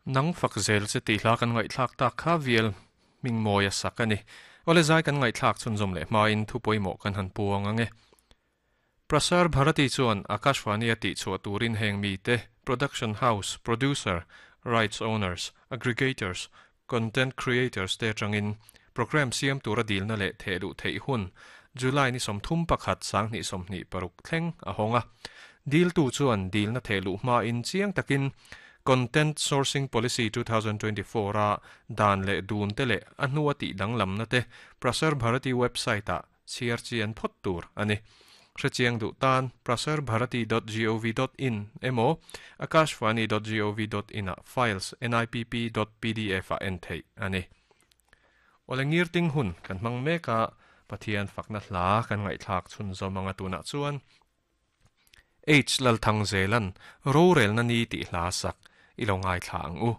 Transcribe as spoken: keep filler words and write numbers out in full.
Nang fak zel che tih hla kan ngaihthlak tak kha vial Mingmawia sak a ni. Awle zai kan ngaihthlak chhunzawm leh hmain thu pawimawh kan han puang ang e. Prasar Bharati chuan Akashvani a tihchhuah turin heng mite, production house, producer, rights owners, aggregators, content creators te atangin programme siam tura dilna leh thehluh theih hun July ni sawmthum pakhat sanghnih sawmhnih paruk thleng a hawng a. Diltu chuan dilna thehluh hmain chiang takin Content Sourcing Policy two thousand twenty four a dan leh dun te leh a hnua tih danglamna te Prasar Bharati website ah chhiar chian phawt tur a ni. Hrechiang duh tan prasarbharati dot gov dot in emaw akashvani dot gov dot in ah files nipp dot pdf ah en theih a ni. Awle ngirting hun kan hmang mek a, Pathian fakna hla kan ngaihthlak chhunzawm anga tunah chuan H Lalthang Zelan rorelna ni tih hla sak i lo ngaithla ang u.